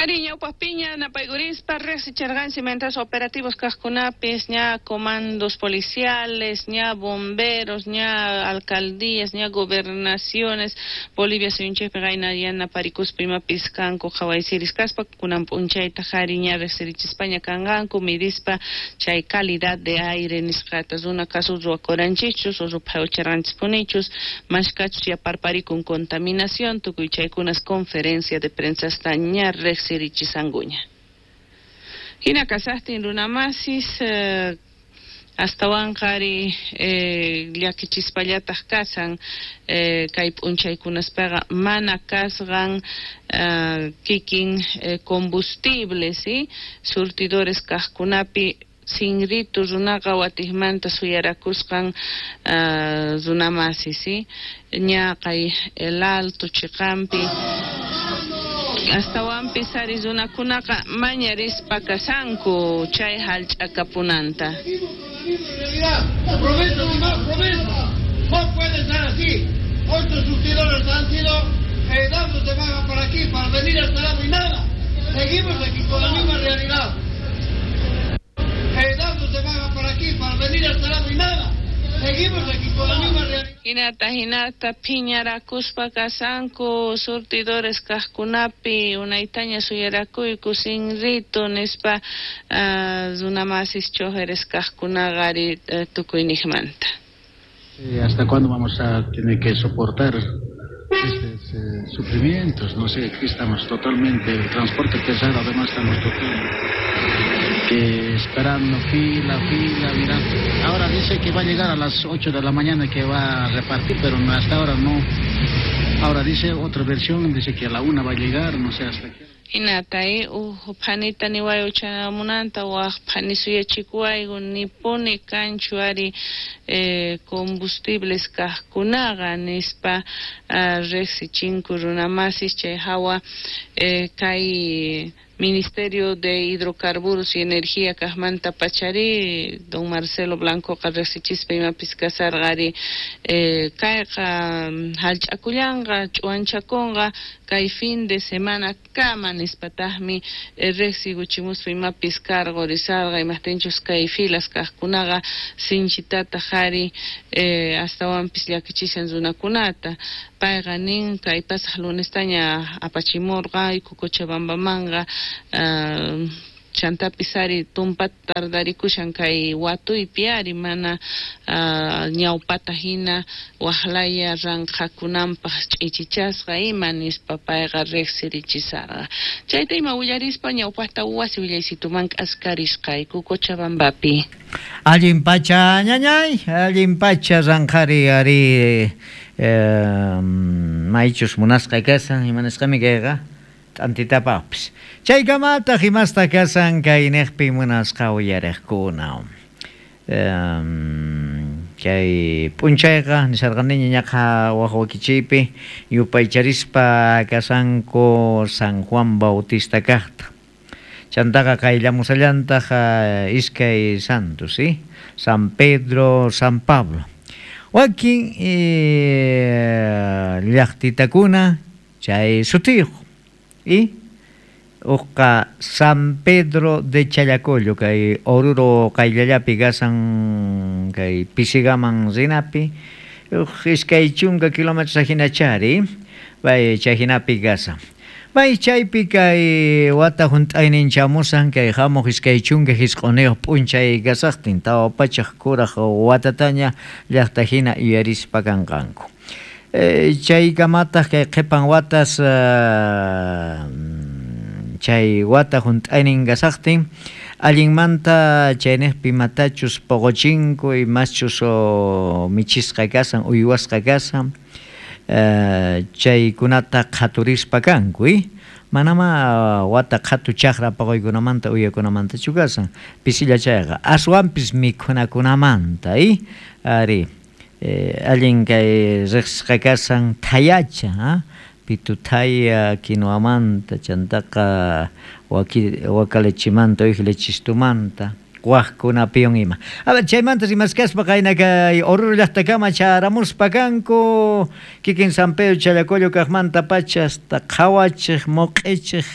Ari ñawpaqpiña napaykurispa riqsicharqanchik mientras operativos kaqkunapis ña comandos policiales, ña bomberos, ña alcaldías, ña gobernaciones Bolivia suyunchikpi qayna yanaparikuspa imapis kanku qhawaysiris kaspa kunan p'unchaytaq ari ña riqsirichispaña kanqanku midispa chay calidad de aire nisqata runa kasu ruwakuranchikchus o ruphayucharqanchispunichus mashkachus yaparparikun contaminación tukuy chaykunas conferencia de prensasta ña riqsirichisankuña. Hina kasaqtin runamasis astawanqa ari llakichispallataq kasan kay p'unchaykunaspaqa mana kasqan kikin combustible, ¿sí? Surtidores kaqkunapi sinritu runaqa watiqmanta suyarakusqan runamasi, ¿sí? Ña kay El Alto chiqanpi astawanpis ari runakunaqa mañarispa kasanku chay hallch'akapunanta. Promesas y más promesas. No puede ser así. 8 surtidores han sido dados de baja por aquí para venir hasta lado y nada. Seguimos aquí con la misma realidad. Dados de baja por aquí para venir hasta lado y nada. Seguimos aquí con la misma realidad. Hinata, hinata, phiñarakuspa kasanku surtidores kaqkunapi unaytaña suyarakuyku sinritu nispa runamasis chojeres kaqkunaqa ari tukuyniqmanta. ¿Hasta cuándo vamos a tener que soportar estos sufrimientos? No sé, aquí estamos totalmente, el transporte pesado, además estamos totalmente esperando fila, fila, mira. Ahora dice que va a llegar a las 8 de la mañana que va a repartir, pero no, hasta ahora no. Ahora dice otra versión, dice que a la 1 va a llegar, no sé hasta qué. Hinata, uj phanita niwayu chanamunanta, waj phani suyachikuwayku, nipuni kanchu ari combustibles kaqkunaqa nispa riqsichinku runamasis chay hawa kay Ministerio de Hidrocarburos y Energía kaqmanta pachari don Marcelo Blancoqa riqsichispa imapis kasarqa ari kayqa hallch'akullanqa ch'uwanchakunqa kay fin de semana kama nispataqmi riqsikuchimuspa imapis karqurisarqa imaqtinchus kay filas kaqkunaqa sinchitataq ari astawanpis llakichishan runakunata. Payqa nin kay pasaq lunestaña apachimurqayku Cochabambamanqa chantapis ari tumpata tardarikushan kay watuypi ari mana ñawpata hina waqlaya ranqhakunanpaq ch'ichichasqa ima nispa payqa riqsirichisarqa. Chayta ima willarispa ñawpaqta wasi willaysituman k'askarisqayku Cochabambapi. Allin pacha ñañay, allin pacha ranqhari ari maychus munasqa kasan imanasqami kayqa t'antitapaqpis. Chaykamataq imasta kasan kay niqpi munasqa uyariqkuna. Kay p'unchayqa nisarqaniña ñaqa waq wakichiypi yupaycharispa kasanku San Juan Bautista kaqta. Chantaqa qayllamusallantaq iskay santos, ¿sí? San Pedro, San Pablo. Wakin llaqtitakuna chay sutiyuq. Y uqqa San Pedro de Challacollo kay Oruro qayllallapi kasan kay Pisigaman rinapi uq iskay chunka kilómetros hinachari bay chay hinapi kasan. Bay chaypi kay wata hunt'aynin chamusan kay hamuq iskay chunka hisq'uniyuq p'unchay kasaqtin tawa pachaq kuraq watataña llaqta hina yuyarispa kanqanku. Chaykamataq kay qhipan watas chay wata hunt'aynin kasaqtin allinmanta chayniqpi imatachus poqochinku imaschus michisqa kasan uywasqa kasan chaykunata qhaturispa kanku manama wata qhatu chaqra poqoykunamanta uywakunamantachu kasan pisilla chayqa aswanpis mikhunakunamanta ari allin kay riqsisqa kasan thayacha pituthaya quinoamanta chantaqa waka lechimanta uwija lechistumanta waqkunapiwan ima. A ver, chaymanta rimaskaspa qayna kay Oruro llaqtakama charamuspa kanku kikin San Pedro Challacollo kaqmanta pacha hasta qhawachiq moq'ichiq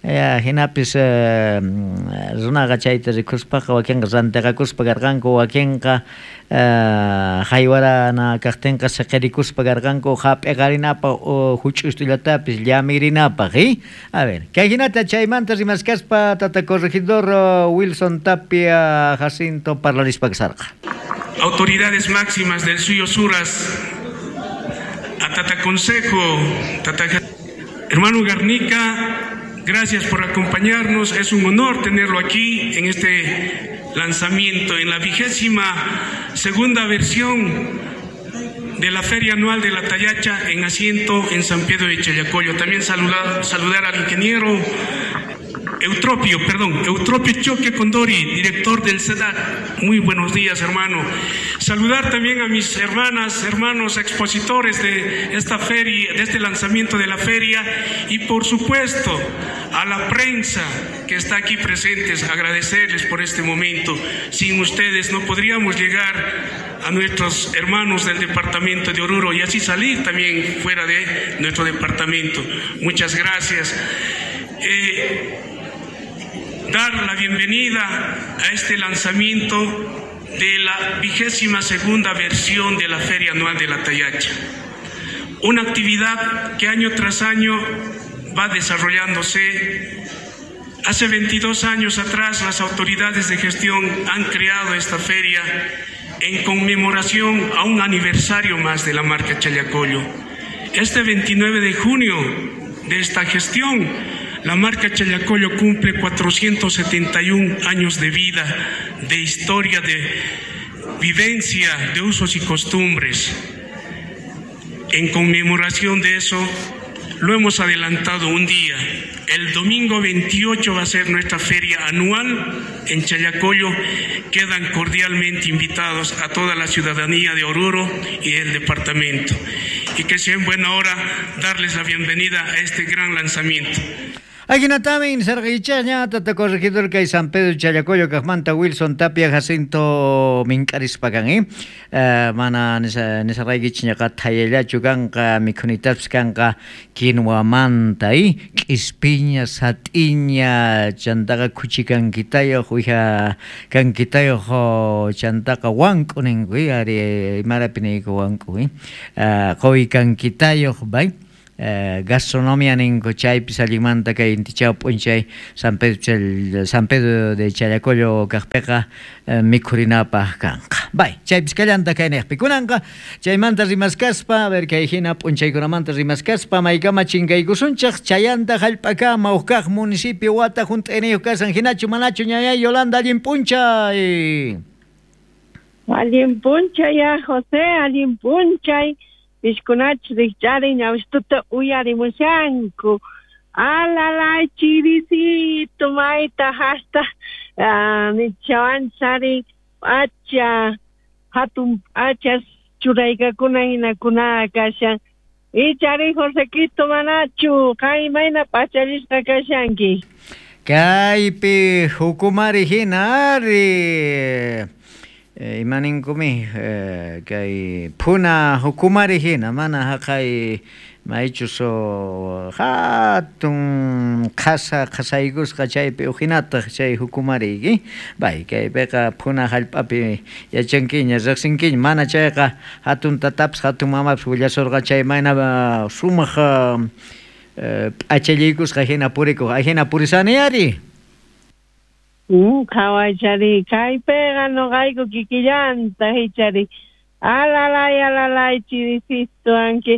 Jinapis runaqa chayta rikuspaqa wakinqa rantiqakuspa karqanku, wakinqa haywarana kaqtinqa siqirikuspa karqanku hap'iqarinapaq huch'ustullatapis llamirinapaq. A ver, kay hinata chaymanta rimaskaspa tata corregidor Wilson Tapia Jacinto parlarispa kasarqa. Autoridades máximas del suyo Suras, a Tata Consejo, Tata Hermano Garnica, gracias por acompañarnos. Es un honor tenerlo aquí en este lanzamiento, en la 22ª versión de la Feria Anual de la Tayacha en asiento en San Pedro de Challacollo. También saludar al ingeniero Eutropio Choque Condori, director del CEDAC. Muy buenos días, hermano. Saludar también a mis hermanas, hermanos expositores de esta feria, de este lanzamiento de la feria, y por supuesto a la prensa que está aquí presentes, agradecerles por este momento. Sin ustedes no podríamos llegar a nuestros hermanos del departamento de Oruro y así salir también fuera de nuestro departamento. Muchas gracias. Dar la bienvenida a este lanzamiento de la 22ª versión de la Feria Anual de la Tayacha. Una actividad que año tras año va desarrollándose. Hace 22 años atrás las autoridades de gestión han creado esta feria en conmemoración a un aniversario más de la marca Challacollo. Este 29 de junio de esta gestión, la marca Challacollo cumple 471 años de vida, de historia, de vivencia, de usos y costumbres. En conmemoración de eso, lo hemos adelantado un día. El domingo 28 va a ser nuestra feria anual en Challacollo. Quedan cordialmente invitados a toda la ciudadanía de Oruro y del departamento. Y que sea en buena hora darles la bienvenida a este gran lanzamiento. Ajinatamin sarqaychaña tata corregidor kay San Pedro Challacollo kaqmanta Wilson Tapia Jacinto mink'arispa kan, mana nisaraykichñaqa thayallachu kanqa mikhunitapis kanqa quinwamanta, k'ispiña, sat'iña, chantaqa khuchi kankitayuq, uwiha kankitayuq, chantaqa wank'u ninku, ari imarapi niyku wank'u, quwi kankitayuq, bay. Gastronomía ninku chaypis allinmanta kay intichaw p'unchay San Pedro de Challacollo kaqpiqa mikhurinapaq kanqa. Bay, chaypis kallanta kayniqpi kunanqa chaymanta rimaskaspa, a ver kay hina p'unchaykunamanta rimaskaspa maykama chinkaykusunchaq chayanta hallp'akama huk kaq municipio wata hunt'ayniyuq kasan hinachu manachu ñañay Yolanda allin p'unchay. Allin p'unchay ya José, allin p'unchay. Piskunach rikchari ñawistuta uyarimushanku. Alalay chirisito mayta hasta nichawanchari acha hatun achas churaykakuna hinakuna kashan. Ichari Josequito manachu kay mayna pachallisqa kashanki. Kaypi hukumari hina ari. Imaninkumi kay phuna hukumari hina mana haqay maychus hatun qhasa qhasaykusqa chaypi uhinataq chay hukumariyki bay kaypiqa phuna hallp'api yachankiña riqsinkiña mana chayqa hatun tatapis hatun mamapis willasurqa chay mayna sumaq p'achallaykusqa hina purikuq ahina purisani ari. Qhawaychari kaypiqa nuqayku kikillanta hichari alalay alalay chirisito anki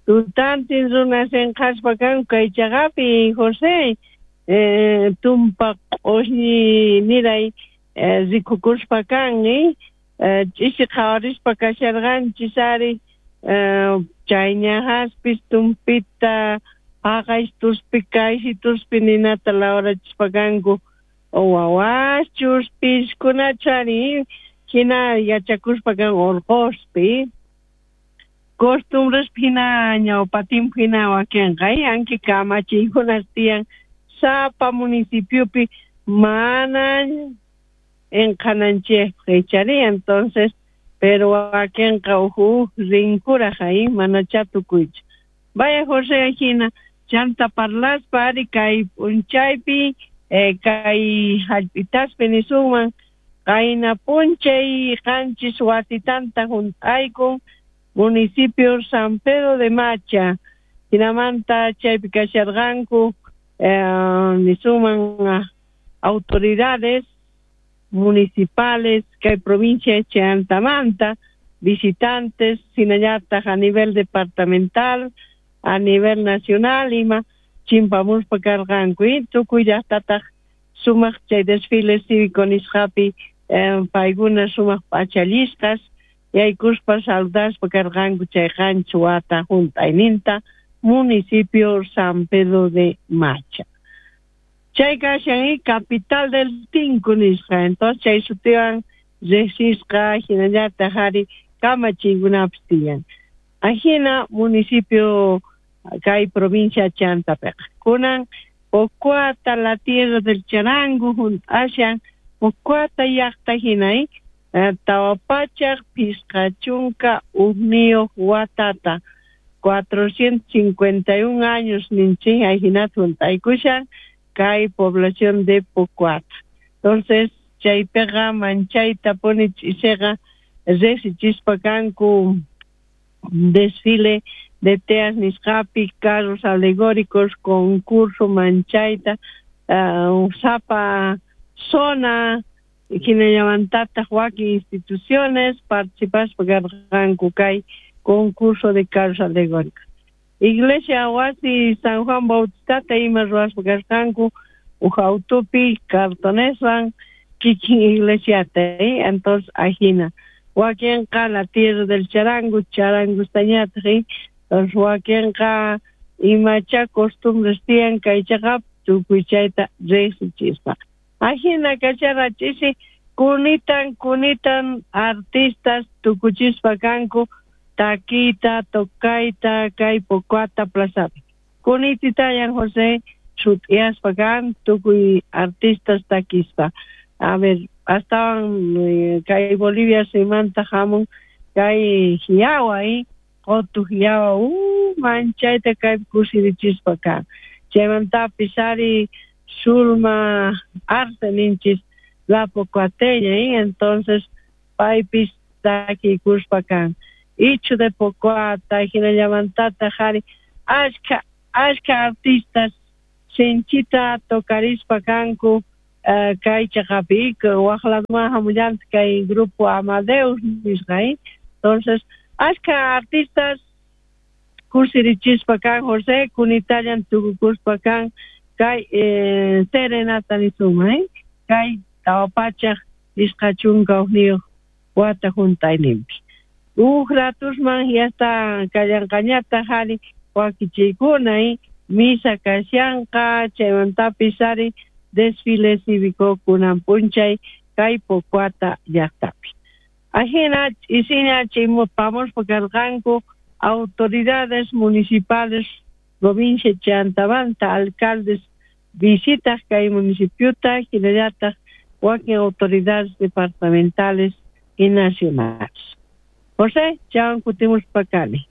tutantin runas inqhaspa kanku kay chaqapi José tumpa q'ushñi niray rikukuspa kan ch'isi qhawarispa kasharqanchis ari chayñahaspis tumpita haqaytuspi kaysituspi ninata lawrachispa kanku wawaschus piskunachari hina yachakuspa kan urquspi costumbres hina ñawpatimpu hina wakinqa anki kamachiykunas tiyan sapa municipiopi mana inqananchikpaq ichari entonces pero wakinqa uhu rinkuraq mana chatukuychu. Vaya José hina Chanta parlaspa ari kay p'unchaypi kay hallp'itaspi nisunman qayna p'unchay 7 watitanta junt'aykun municipio San Pedro de Macha. Hinamanta chaypi kasharqanku nisunman autoridades municipales kay provincia Chantamanta, visitantes hinallataq a nivel departamental, a nivel nacional ima chimpamuspa karqanku tukuy llaqtataq sumaq chay desfile cívico nisqapi paykuna sumaq p'achallisqas yaykuspa saludaspa karqanku chay 7 wata junt'ayninta municipio San Pedro de Macha. Chay kashan capital del Tinku nisqa, entonces chay sutiwan riqsisqa hinallataq ari kamachiykunapis tiyan. Ajina municipio kay provincia Chantapiqa. Kunan Pocoata, la tierra del charango, junt'ashan Pocoata llaqta hina 451 watata 451 años ninchik ajinata junt'aykushan kay población de Pocoata. Entonces chaypiqa manchayta puni ch'isiqa riqsichispa kanku desfile de teas nisqapi, carros alegóricos, concurso manchayta, sapa zona hinallamantataq wakin instituciones participaspa karqanku kay concurso de carros alegóricos. Iglesia wasi San Juan Bautistata ima ruwaspa karqanku uj autupi cartoneswan kikin iglesiata, entonces ajina wakinqa la tierra del charango, charangustañataq, entonces wakinqa imacha costumbres tiyan kay chaqap tukuy chayta riqsichispa. Ajina kachara ch'isi kunitan artistas tukuchispa kanku takita, tocayta, kay Pocoata plazapi. Kunititayan José sut'iyaspa kan tukuy artistas takispa. A ver, astawan kay Bolivia suymanta hamun kay hiyawa, qotu hiyawa, manchayta kay kusirichispa kan. Chaymantapis ari Zulma Arce ninchis la Pocoateña, entonces paypis takikuspa kan. Ichu de Pocoata, hinallamantataq ari ashka artistas sinchita tocarispa kanku kay chaqapi waq laduman hamullanta kay grupo Amadeus nisqa, entonces ashka artistas kusirichispa kan José kunitallan tukukuspa kan kay serenata nisuma, kay 451 wata junt'ayninpi. Uj ratusman yasta kallanqañataq ari wakichiykuna, misa kashanqa, chaymantapis ari desfile cívico kunan p'unchay kay Pocoata llaqtapi. Ajina ch'isiña chaypamuspa karqanku autoridades municipales provincia Chantamanta, alcaldes visitas kay municipiota, hinallataq wakin autoridades departamentales y nacionales. José, chawan kutimuspa kani.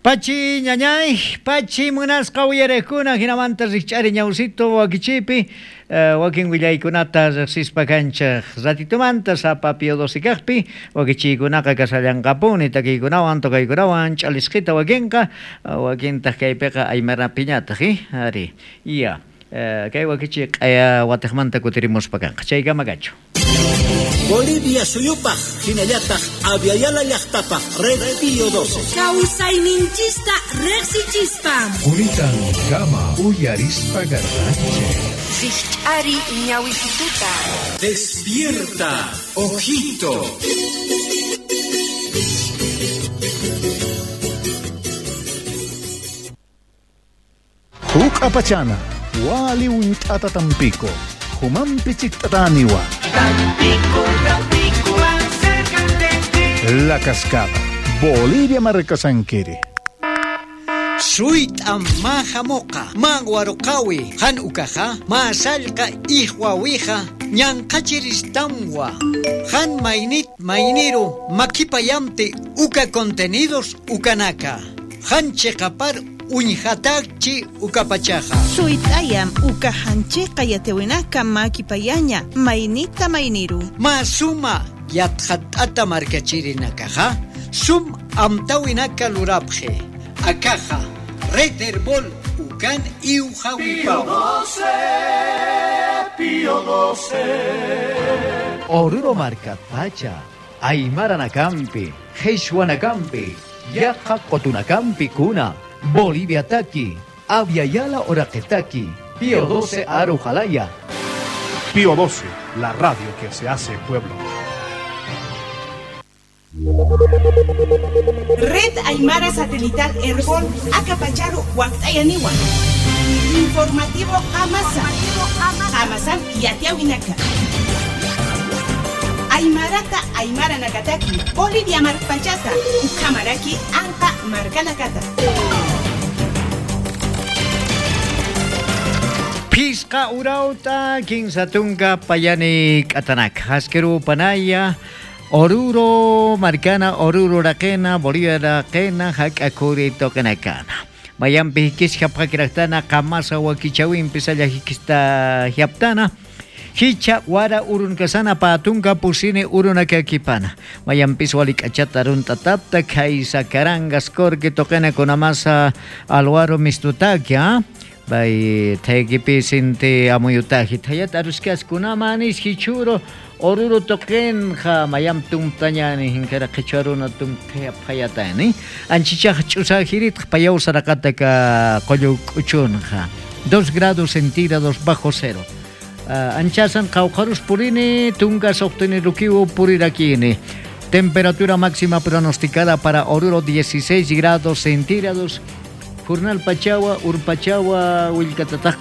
Pachi ñañay, pachi munasqa uyarekuna hinamanta rikch'ari ñawsito wakichipi, wakin willaykunata riqsispa kanchaq ratitumanta sapa pio 12 kaqpi wakichiykunaqa kasallanqapuni takiykunawan tocaykunawan ch'alisqita wakinqa wakintaq kaypiqa aymarapiñataq, ari ya kay wakichi q'aya watiqmanta kutirimuspa kanqa chaykama kachu. Bolivia suyupaq hinallataq Aviala llaqtapaq Red Pío 12. Kawsayninchista riqsichispa. Kunitan kama uyarispa garranche. Rikch'ari ñawisituta. Despierta, ojito. Huk apachana, wali unt'ata tampico. Humampi chiktataniwa. Tampico, Tampico, acércate. La Cascada, Bolivia Marcasanquiri. Suit majamoqa, manwaruqawi, han ukaja, masallqa ihwawija, ñanqachiristamwa, han mainit mainiru, makipayamte uka contenidos ukanaka, han cheqapar Uñjatachi ukapachaja. Suyt'ayam ukajanchikqa yatawinaka makipayaña maynita mayniru. Masuma yatjat'ata markachirinakaja sum amtawinaka lurapje. Akaja Red Herbol ukan iujawipaw. Pío 12. Oruro marka pacha, Aymara nakampi, Qhichwanakampi, Yaqa qotunakampi kuna, Bolivia taki, Abya Oraqetaki, Pío 12 Arujalaya. Pío 12, la radio que se hace pueblo. Red Aymara Satelital Herbol Acapacharu Huactayaniwa. Informativo Amasa. Amasan Yatiawinaka. Aymarata Aymara Nakataki, Bolivia Marpachata, Ukamaraki, Anka Markanakata. Pisqa urauta, kinsa tunka payani k'atanak, haskeru panaya, Oruro markana, Oruro raqena, Bolivia raqena, hak'akuri toqenakana. Mayampi hikisqa pqakiraktana, qamasa wakichawinpi salla hikista hiaptana. Hicha wara urunkasana patunka pusini urunakakipana. Mayampis walik'achata runtatapta kaysa karangas korki toqena kunamasa alwaro mistutakia. Bay taykipi sinti amuyutaji thayat aruskas kunamanis hichuro oruro toqenja mayam tumtañani hinkara qhichwaruna tumthaya phayatani anchichaj ch'usajiritq payaw saraqataka qullu k'uchunja 2 grados centígrados bajo cero. Anchasan qawqarus purini tunka soqtini rukiu purirakini. Temperatura máxima pronosticada para Oruro 16 grados centígrados. Jornal Pachawa, Urpachawa, Willkatataq.